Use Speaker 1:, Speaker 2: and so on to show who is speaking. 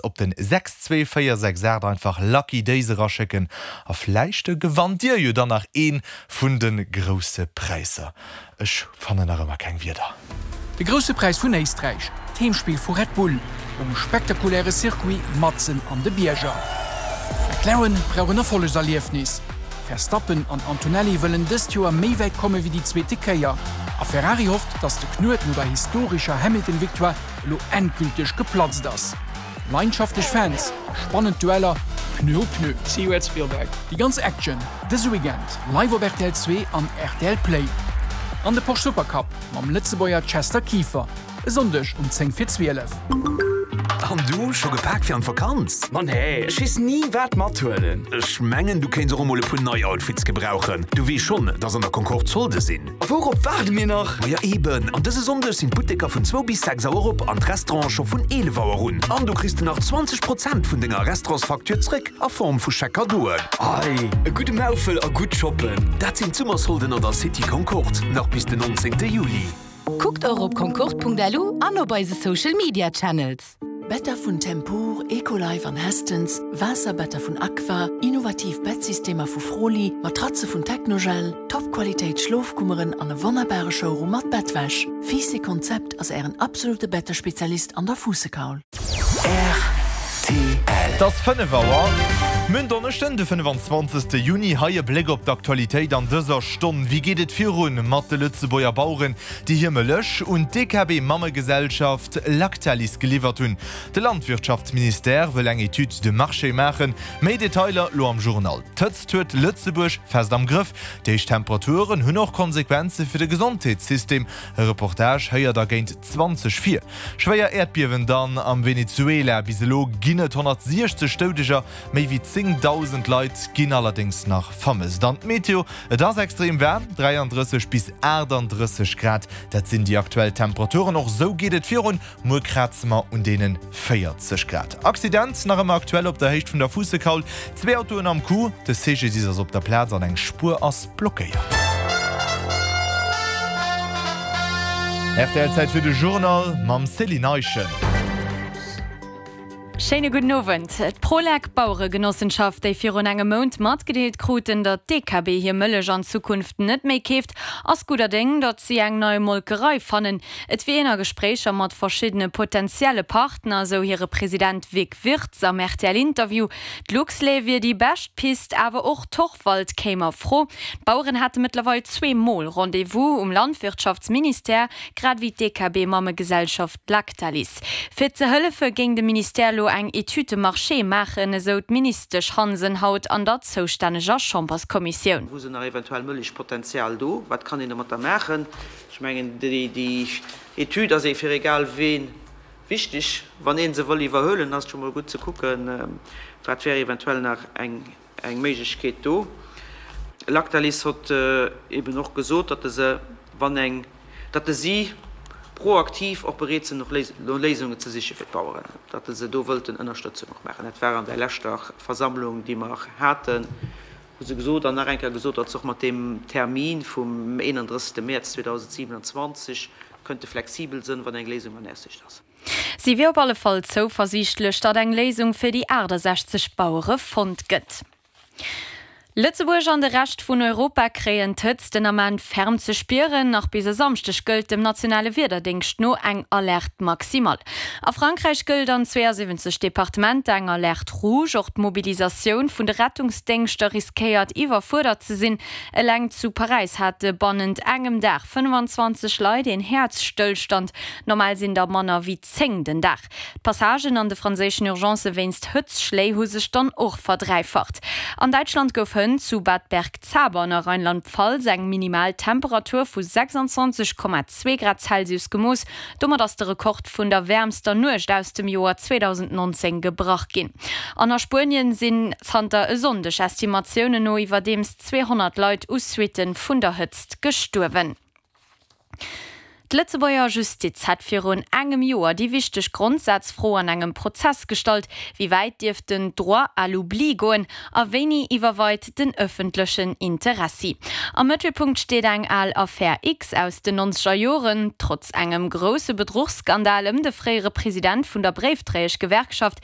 Speaker 1: Op den 62468 einfach Lucky Days eraschécken a vläicht gewannt dir jo dann nach een vun de grousse Präisser. Ech fannen nach ëmmer keng Wierder.
Speaker 2: De Grousse Präis vun Éisträich, d'Heemspill vu Red Bull um spektakuläre Circuit matzen an de Bierger. McLaren brauch en Erfollegserliefnis, Verstappen an Antonelli wëllen dëst Joer méi wäit komme wéi déi zweete Kéier a Ferrari hofft, datt de Knuet no der historescher Hamilton-Victoire elo endgülteg geplatzt ass. Leidenschaftlech Fans a spannend Dueller Pneu u Pneu. See you at Spielberg. Déi ganz Action dëse Weekend live op rtl 2 an rtl Play. An de Porsche Supercup mam Lëtzebuerger Chester Kieffer e Sonndeg um 10 vir 12.
Speaker 3: An du, scho gepak fir an d'Vakanz?
Speaker 4: Ma nee, ech weess ni wat mathuelen.
Speaker 3: Ech mengen du kéints och emol e puer nei Outfits gebrauchen. Du weess schonn, dass an der Concorde Solde sinn.
Speaker 4: A wourop waarde mir nach?
Speaker 3: Maja eben, an dëse Sonndeg sinn d'Butteker vun zwou bis 6 Auer op an d'Restaurante scho vun 11 Auer un. An do kriss de nach 20 Prozent vun denger Restaurantsfacture zréck a Form vu Chèque-Cadeauen.
Speaker 4: Ei, e gudde Maufel a gutt shoppen!
Speaker 3: Dat sinn d'Summersolden an der City Concorde, nach bis den 19 Juli.
Speaker 5: Kuckt och op concorde.lu an op eise Social Media Channels.
Speaker 6: Better vun Tempur, Ecolife an Hästens, Waasserbetter vun Aqua, innovativ Bettsystemer vu Froli, Matratze vun Technogel, Top-Qualitéit Schlofkummeren an e wonnerbare Showroom mat Bettwäsch. Fiiss Konzept ass ären absolute Bettespezialist an der Fuussekaul.
Speaker 1: Rtl. Et ass 5 Auer. Mir hunn Donneschden, de 25. Juni. Hei e Bléck op d'Aktualitéit an dëser Stonn. Wéi geet et virun mat de Lëtzebuerger Baueren, déi hir Mëllech un d'DKB-Mammegesellschaft Lactalis geliwwert hunn. De Landwirtschaftsministère wëll eng Étude de marché maachen. Méi Detailer lo am Journal. D'Hëtzt huet Lëtzebuerg fest am Grëff. D'héich Temperaturen hunn och Konsequenze fir de Gesondheetssystem. E Reportage héiert der géint 20 vir. Schwéier Äerdbiewen dann am Venezuela. Bis elo ginn et 160 Doudeger. Méi wéi 10.000 Leit ginn allerdéngs nach vermësst. An d'Meteo, Et ass extrem waarm, 33 bis 38 Grad, dat sinn déi aktuell Temperaturen. Och esou geet et virun, muer kraze mer un deene 40 Grad. Accident nach ëmmer aktuell op der Héicht vun der Fuussekaul, zwee Autoen am Coup, de CGDIS ass op der Plaz an eng Spuer ass blockéiert. Rtl, Zäit fir de Journal mam Céline Eischen.
Speaker 7: Schéine gudden Owend. D'Prolec Baueregenossenschaft, déi virun engem Mount matgedeelt kruten, datt d'DKB hir Mëllech an Zukunft net méi keeft, ass gudder Déng, datt si eng nei Molkerei fannen. Et wier een a Gespréicher mat verschiddene potentielle Partner, esou hire President Vic Wirtz am RTL-Interview. D'Luxlait wier déi bescht Pist, awer och Torfwald kéim a Fro. D'Baueren hate mëttlerweil zweemol Rendez-vous um Landwirtschaftsministère, grad ewéi d'DKB-Mammegesellschaft Lactalis. Fir ze hëllefe géing de Ministère elo eng Étude de marché maachen, esou d'Ministesch Hansen haut an der zoustänneger Chamberskommissioun.
Speaker 8: Wou se nach eventuell Mëllechpotenzial do? Wat kann een domatter maachen? Ech mengen, déi Etüd ass ee fir egal wee wichteg. Wann ee se wëll iwwerhuelen, ass et scho mol gutt ze kucken, wat wär eventuell nach eng eng Méiglechkeet do. Lactalis hott eben och gesot, datt se, wann eng, datt si proaktiv och bereet sinn, och no Léisungen ze siche fir d'Baueren, datt se do wëllten Ënnerstëtzung och maachen. Dat war an där leschter Versammlung, déi mer haten, hu se gesot an nach eng Kéier gesot, datt se och mat deem Termin vum 31. Mäerz 2027 kënnte flexibel sënn, wann eng Léisung an Aussicht ass.
Speaker 7: Si wier op alle Fall zouversiichtlech, datt eng Léisung fir déi 68 Bauere fonnt gëtt. Lëtzebuerg an de Rescht vun Europa kréien d'Hëtzt den Ament ferm ze spieren. Nach bis e Samschdeg gëllt dem nationale Wiederdéngscht no eng Alerte maximale. A Frankräich gëllt an 72 Departementer eng Alerte rouge. Och d'Mobilisatioun vun de Rettungsdéngschter riskéiert iwwerfuerdert ze sinn. Eleng zu Paräis hate bannent engem Dag 25 Leit een Häerzstëllstand. Normal sinn der manner wéi 10 den Dag. D'Passagen an de franséischen Urgencë wéinst Hëtzschléi hu sech dann och verdräifacht. An Däitschland gouf hënt zu Bad Bergzabern a Rheinland-Pfalz eng minimal Temperatur vu 26,2 Grad Celsius gemooss. Domat ass de Rekord vun der wäermster Nuecht aus dem Joer 2019 gebrach ginn. An a Spuenien sinn zanter e Sonndeg Estimatiounen no iwwerdeems 200 Leit u Suitte vun der Hëtzt gestuerwen. D'Lëtzebuerger Justiz hätt virun engem Joer déi wichteg Grondsazfro an engem Prozess gestallt, Wéi wäit dierf den Droit à l'oubli goen a wéini iwwerweit den ëffentlechen Interessi? Am Mëttelpunkt steet eng al Affär X aus den nonzeger Joren. Trotz engem grousse Bedruchsskandal ëm de fréiere President vun der Bréifdréieschgewerkschaft.